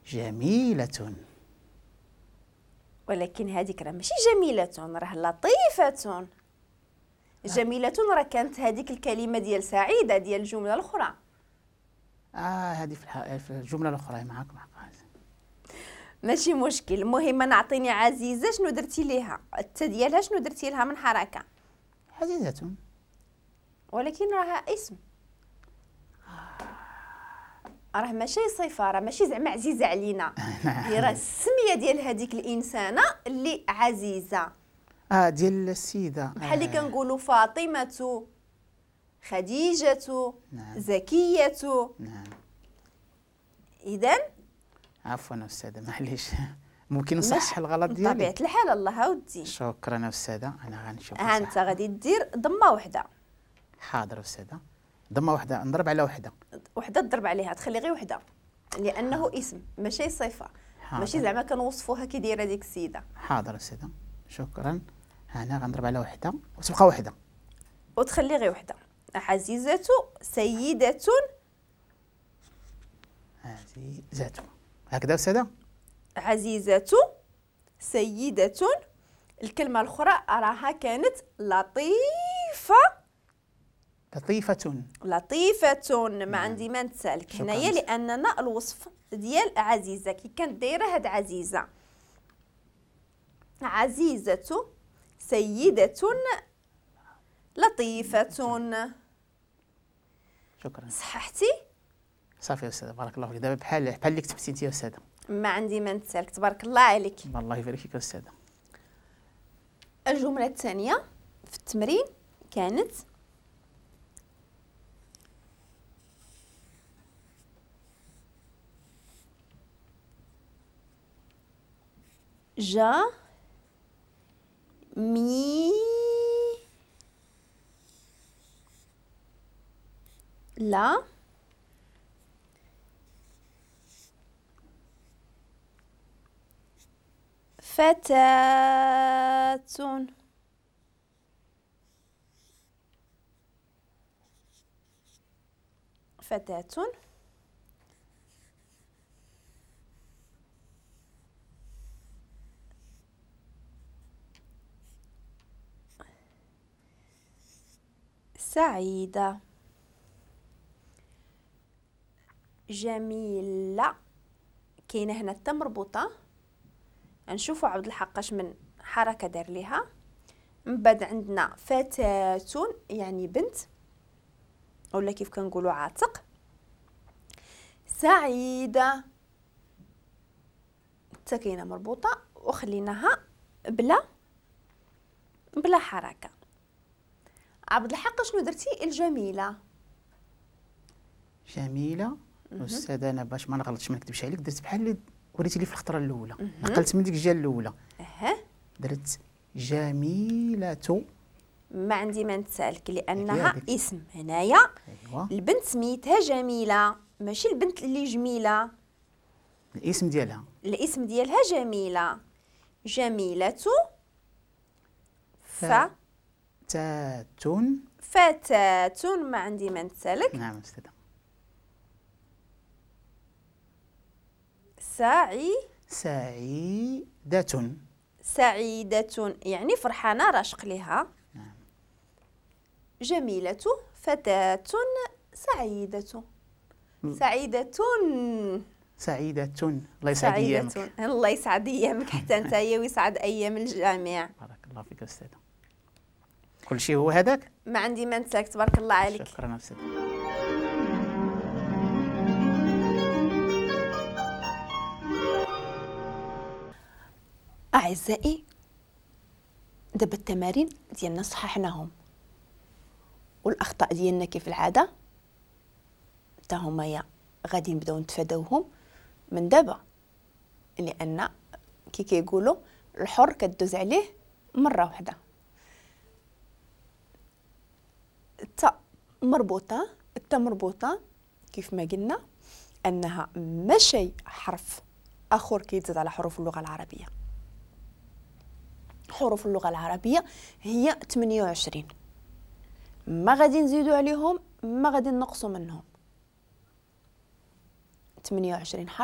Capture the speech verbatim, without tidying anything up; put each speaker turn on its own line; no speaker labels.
جميلة.
ولكن هذيك راه ماشي جميلة، راه لطيفة. جميلة راه كانت هذيك الكلمة ديال سعيدة ديال الجملة الأخرى.
اه هذه في, في الجملة الأخرى معاك معاك
ماشي مشكل. المهم انا عطيني عزيزة شنو درتي ليها؟ التا ديالها شنو درتي لها من حركة؟
عزيزة،
ولكن راها اسم، راه ماشي صفة، راه ماشي زعما عزيزة علينا، هي راه السمية ديال هذيك الإنسانة اللي عزيزة.
اه ديال السيدة،
بحال اللي كنقولوا فاطمة، خديجة، نعم. زكية.
نعم.
إذا
عفوا أستاذة معليش، ممكن نصحح الغلط ديالي؟
بطبيعة الحال الله ودي.
شكرا أستاذة، أنا غنشوف.
ها أنت غادي دير ضمة وحدة.
حاضر أستاذة، ضمة وحدة، نضرب على وحدة.
وحدة تضرب عليها، تخلي غير وحدة، لأنه اسم ماشي صفة، ماشي زعما كنوصفوها كي دايرة ديك السيدة.
حاضر أستاذة، شكرا. أنا غنضرب على وحدة وتبقى وحدة.
وتخلي غير وحدة. عزيزة سيدة.
عزيزة، هكذا أستاذة؟
عزيزة سيدة. الكلمة الأخرى راها كانت لطيفة.
لطيفة.
لطيفة، ما عندي ما نتسالك هنايا لأننا الوصف ديال عزيزة كي كانت دايرة هاد عزيزة. عزيزة سيدة لطيفة.
شكرا.
صححتي؟
صافي يا أستاذة، بارك الله فيك. دابا بحال بحال اللي كتبتي أنت يا أستاذة.
ما عندي ما نتسالك، تبارك الله عليك.
الله يبارك فيك يا أستاذة.
الجملة الثانية في التمرين كانت جا مي لا فتاة. فتاة سعيدة. جميلة، كاينة هنا التا مربوطة، نشوفوا عبد الحق اش من حركة دار ليها. من بعد عندنا فتاة يعني بنت ولا كيف كنقولوا عاتق. سعيدة التا كاينة مربوطة وخليناها بلا بلا حركة. عبد الحق شنو درتي الجميلة؟
جميلة أستاذة، أنا باش ما نغلطش ما نكذبش عليك درت بحال اللي وريتي لي في الخطرة الأولى، نقلت من ديك الجهة الأولى.
أه.
درت جميلة.
ما عندي ما نتسالك لأنها اسم هنايا. أيوة. البنت سميتها جميلة، ماشي البنت اللي جميلة.
الاسم ديالها.
الاسم ديالها جميلة. جميلة ف
فتاة.
فتاة، ما عندي ما نتسالك.
نعم أستاذة.
سعي
سعيدة.
سعيدة يعني فرحانة راشق لها.
نعم.
جميلة فتاة سعيدة. سعيدة.
سعيدة، الله يسعد أيامك.
الله يسعد أيامك حتى أنت ويسعد أيام الجميع.
بارك الله فيك أستاذة. كل شيء هو هذاك؟
ما عندي ما نساك، تبارك الله عليك.
شكرا أستاذة.
أعزائي، دابا التمارين ديالنا صححناهم والأخطاء ديالنا كيف العادة حتى هما يا غادي نبداو نتفاداوهم من دابا، لأن كي كيقولوا الحر كدوز عليه مرة واحدة. التاء مربوطة، التاء مربوطة كيف ما قلنا أنها ماشي حرف آخر كيتزاد على حروف اللغة العربية. حروف اللغة العربية هي ثمانية وعشرين، ما غادي نزيدو عليهم ما غادي نقصو منهم. ثمانية وعشرين حرف.